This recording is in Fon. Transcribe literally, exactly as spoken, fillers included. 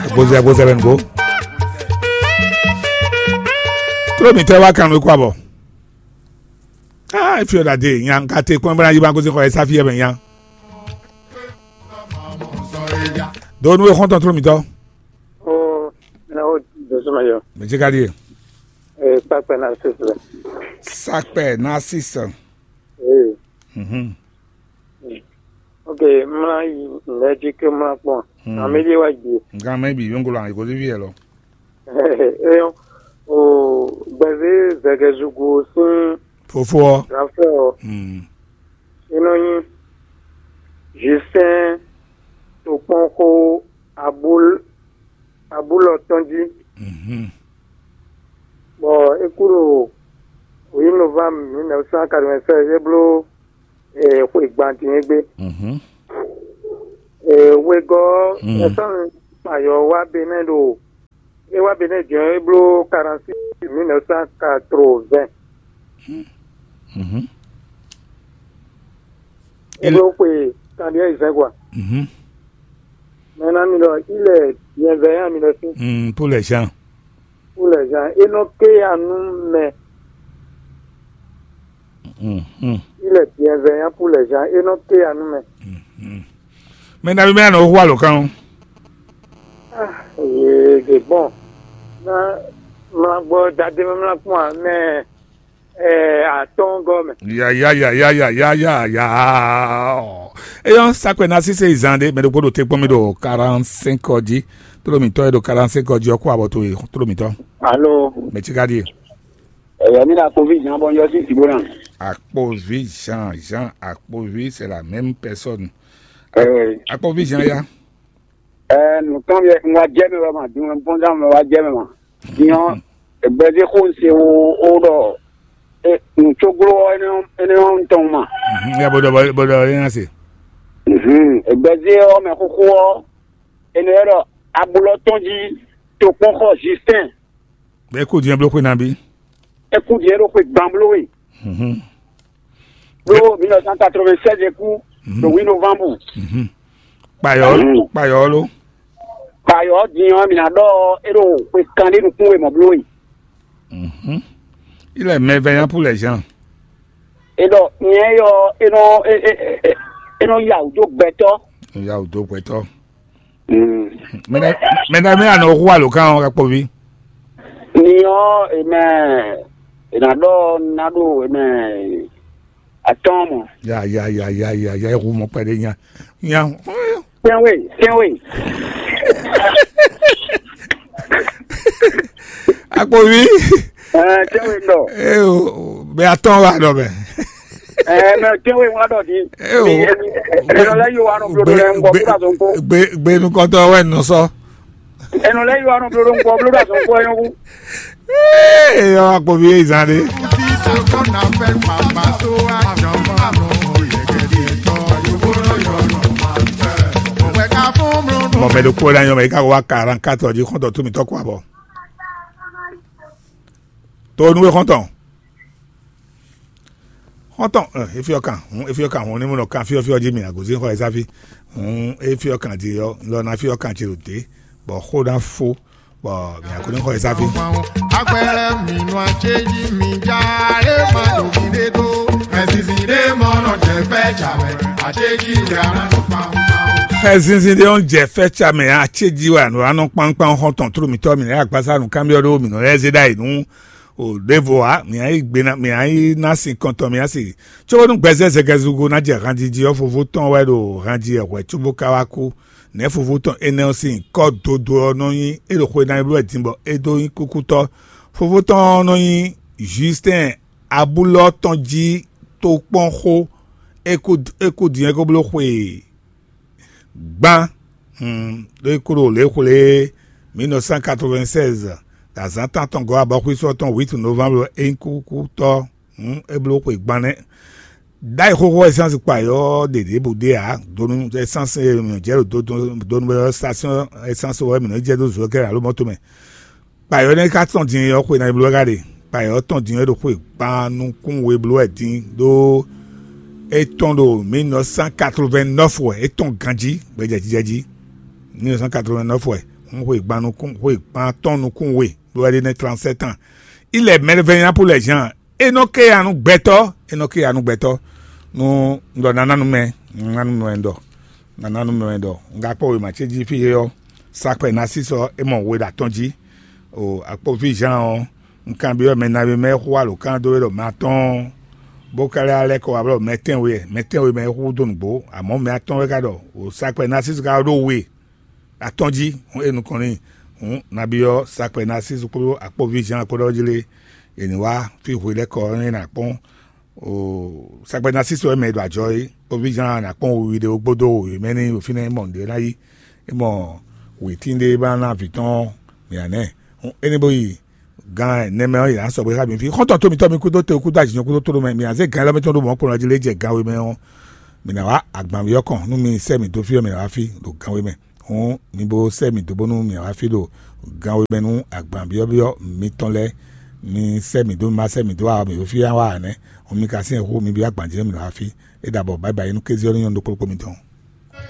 Agbozɛ agbozɛ bɛ nugo. Tró mǐtɔn wá kan nú kó abɔ. Ah, if you that day, nyam ka te kpɔn bra yi ba ko se ko esa fi e bɛ nya. Do nu e xɔntɔn tró mǐtɔn. Oh, na o do suma yo. Mɛ jɛ ka di e. Eh, pa pa na se se. Sakpɛ na sisa. Eh. Mhm. Ok, mla yi nɛji ke mla kpɔn. Hmm. Amedi wa gbe. Nkan mɛ bi yongolo an ko vi yɛ lɔ. Eyo, o gbɛzé zɛgɛzugu sín fofo ɔ. Rafɛ ɔ. Hmm. Inú yín Justin tó kpɔn xó abúl abúlɔ tɔn jí. Mhm. Bɔ é kú ɖo huit novembre mille neuf cent quatre-vingt-seize é bló eh, xwe gban din é gbé. Mhm. Eh, wegɔ́ Mm. Ɛsɔn kpayɔ wá Benɛ ɖo é wá Benɛ jɔn é bló quarante-six mille neuf cent quatre-vingts. Mhm. É bló xwe kanɖíɛ yi zɛn quoi. Mhm. Maintenant mi ɖɔ il est bienveillant mi ɖɔ si. Mm, pour les gens. Pour les gens, é nɔ ké ya nú mɛ. Mhm. Il est bienveillant pour les gens, é nɔ ké ya nú mɛ. Mhm. Mɛ nabí mɛ anɔ hu alɔkan o. Ah, ye de bɔn. Na mla gbɔ dade mɛ mla kpɔn a mɛ eh, atɔn gɔmɛ. Ya ya ya ya ya ya ya ya. Eyɔn sakpɛ na sise izan de mɛ ɖokpó ɖo te kpɔn mi ɖo quarante-cinq ɔ jí. Tló mǐtɔn e ɖo quarante-cinq ɔ jí ɔ kó abɔ towe tló mǐtɔn. Alo, Mɛ tí ka ɖíe. Ɛyɛ mi ɖo akpovi Jean bɔ yɔ sí Sibona. Akpovi Jean, Jean Akpovi, c'est la même personne. Ɛɛ, Akpovi Jean ya. Ɛɛ, nùkan mi wá jẹ́ mi wá ma dun ẹ̀ ń pọ́n dá mi wá jẹ́ mi ma. Diɲɔ, egbɛzixo se wo wo ɖɔ nùtsoglo ɔ́, énɛ́ ɔ́ tɔn ma. Mhm, ya bó ɖɔ bó ɖɔ é ná se. Mhm, egbɛzé ɔ́ mɛ xóxó ɔ́, énɛ́ ɔ́ ɖɔ ablɔ tɔn jí tokpɔnxɔ Justin. Bɛ kó diɲɛ bló xwe nabí. É kú din é ɖo xwe gban bló we. Mhm. Bló mille neuf cent quatre-vingt-seize é kú Mhm. Ɖo huit novembre. Mhm. Kpayɔ Mhm. Kpayɔ ló. Kpayɔ din ɔ́ mi ná ɖɔ é ɖo xwe kanɖé nukún we mɔ̌ bló we. Mhm. Il est merveillant pour les gens. É ɖɔ nyɛ yɔ é nɔ é é é- é nɔ ya wǔ dó gbɛtɔ́. Ya wǔ dó gbɛtɔ́. Mm. Mɛ nɛ mɛ nɛ mɛ anɔ hu alɔkan ɔ kakpɔvi. Ni ɔ́, è mɛ è nǎ ɖɔ ná ɖo è mɛ atɔ́ɔ́n mɔ. Ya ya ya ya ya ya ehu mɔ kpɛɖé nya nya. Tɛnwe, tɛnwe. Akpovi. Ɛɛ, tɛnwe ɖɔ. Ee o, bɛ atɔn wa ɖɔ bɛ. Ɛɛ, mɛ tɛnwe wa ɖɔ di. Ee o. Ɛnɔ lɛ yi wa nɔ blo ɖo lɛ ŋgɔ blo ɖo azɔn ko. Gbe gbe nukɔntɔ wɛ nɔ sɔ. Ɛnɔ lɛ yi wa nɔ blo ɖo ŋgɔ blo ɖo azɔn ko ɛnɔ ku. Ee, yɔ akpovi ye zan de. Mɔ mɛ ɖokpó ɖe anyɔ mɛ yi ka wá quarante-quatre jí xɔntɔn tó mǐtɔn kó abɔ. To nú we xɔntɔn. Xɔntɔn, eh, efi ɔkan, hun efi ɔkan, hun ní mo nɔ kan fyɔfyɔ jí mi agozin xɔ ɛsáfi. Hun efi ɔkan jí ɔ, lɔ ná fi ɔkan jí lòdì, bɔ xó ná fó, bɔ mi àkó ní xɔ ɛsáfi. Agbɛlɛ mi nɔ atseji mi ja, e ma ɖo mi ɖe do. Mɛ zizi ɖe mɔ nɔ jɛ fɛ jamɛ, atseji ɖe ana nɔ kpawun kpawun. Xɛ zinzin ɖé ɔ́ jɛ fɛ́ ca mɛ acéji wɛ anɔ anɔ kpankpan xɔntɔn tló mǐtɔn mǐ lɛ́ɛ agbásá nǔkanbyɔ́ ɖó mǐ nɔ lɛ́ zé ɖ'ayǐ nú o ɖěvo ǎ. Mǐ nyi gbe ná mǐ nyi ná sin kɔntɔn mǐ nyi asi. Cóbónú gbɛzɛ́ zɛgɛzugo ná jɛ hanjiji ɔ́, fofó tɔn wɛ ɖo hanji wɛ hwɛ̌ cóbó ka wá kú. Nɛ̌ fofó tɔn énɛ́ ɔ́ sín kɔ́ dodó ɔ́ nɔ nyí é ɖo xwe ná yi bló wɛ din bɔ é dó nyí kúkútɔ́? Fofó tɔn ɔ́ nɔ nyí Justin Abúlɔ tɔn jí tokpɔn xó. É kú é kú din é ko bló xwe gbán. Hmm, ɖó é kú ɖo lě xwlé mille neuf cent quatre-vingt-seize, ɖo azǎn tántɔn gɔ́ abɔxwísɔ tɔn huit novembre é nyí kúkútɔ́. Hmm, é bló xwe gbán nɛ́. Ɖ'ayǐ xóxó ɛsɛ́nsi kpa yɔ́ ɖě ɖěbǔ ɖé ǎ. Donu ɛsɛ́nsi e mǐ nɔ jɛ ɖo donu station ɛsɛ́nsi wɛ mǐ nɔ jɛ ɖó zokɛ́ alo mɔto mɛ. Kpayɔ́ nɛ́ ka tɔn din ɔ́ xwe ná bló ká ɖe. Kpayɔ́ tɔn din ɔ́ ɖo xwe gban nukún we bló wɛ din ɖó é tɔn ɖo mille neuf cent quatre-vingt-neuf wɛ é tɔn ganjí gbɛjɛjijɛ jí. Mille neuf cent quatre-vingt-neuf wɛ. un xwe gban nukún xwe gban atɔ́ɔ́n nukún we ɖó wɛ ɖé nɛ́ trannsɛ́tán. Ilɛ mɛɖevɛ́nyá pou lɛ Jean, é nɔ ké ya nú gbɛtɔ́, é nɔ ké ya nú gbɛtɔ́. Nú un ɖɔ naná nú mɛ, naná nú mɛ wɛ un ɖɔ, naná nú mɛ wɛ un ɖɔ. Un ka kpɔ́ wěma ce jí fí é ɔ́, Sakpɛ Nasísɔ é mɔ we ɖo atɔ́ɔ́n jí. O akpɔ́ví Jean ɔ́, un kanbyɔ́ mɛ nabí mɛ e xú alǒkan dó we ɖɔ mɛ atɔ́ɔ́n, bó ka lɛ́ lɛ́ kɔ wá blɔ́ mɛ tɛ́nwe wɛ, mɛ tɛ́nwe mɛ e xú dó nǔgbó, amɔ̌ mɛ atɔ́ɔ́n wɛ ka ɖɔ o Sakpɛ Nasísɔ ka ɖó we atɔ́ɔ́n jí. Hǔn e nukɔn n'i, hǔn nabí ɔ́ Sakpɛ Nasísɔ kpódó akpɔ́ví Jean kpódó ɔ́ jlé è nǐ wá fí hwe lɛ́ɛ kɔ ɔ́ nú é ná kpɔ́n. Sakpɛ Nasísɔ wɛ mɛ e ɖo ajɔ é, kpɔ́ví Jean ná kpɔ́n wiwi ɖé wó gbódó wěmɛ n'i ɖo fínɛ́, é mɔ nǔɖé ná yí, é mɔ wětín ɖé ba ná vǐ tɔn mǐ ná nɛ. Énɛ́ bó yi gan nɛmɛ ɔ́, yě ná sɔgbe xá mi fí. Xɔ́ntɔn tó mitɔ́ mi kúdó te kúdó ajǐnɔ kúdó tóɖó mɛ, mǐ ná zé gan élɔ́ mɛ tɔn ɖó mɔ̌ kplɔ́n jí lé jɛ gan we mɛ ɔ́, mǐ ná wá agbanví ɔ́ kɔn nú mi sɛ́ mǐ dó fí ɔ́, mǐ ná wá fí ɖo gan we mɛ. Hǔn mi bo sɛ́ mǐ dó bónú mǐ wá fí ɖo gan we mɛ nú agban byɔ́byɔ́ mitɔn lɛ́ɛ. Mi sɛ́ mǐ dó, mi ma sɛ́ mǐ dó ǎ ɔ́, mǐ ɖo fí wá ǎ nɛ́. Hǔn mi ka syɛ́n hu mi byɔ́ agban jí nú mǐ wá fí. É ɖabɔ, bǎyi bǎyi nú kéze ɔ́ ní nyɔ́ nú ɖokpó ɖokpó mitɔn.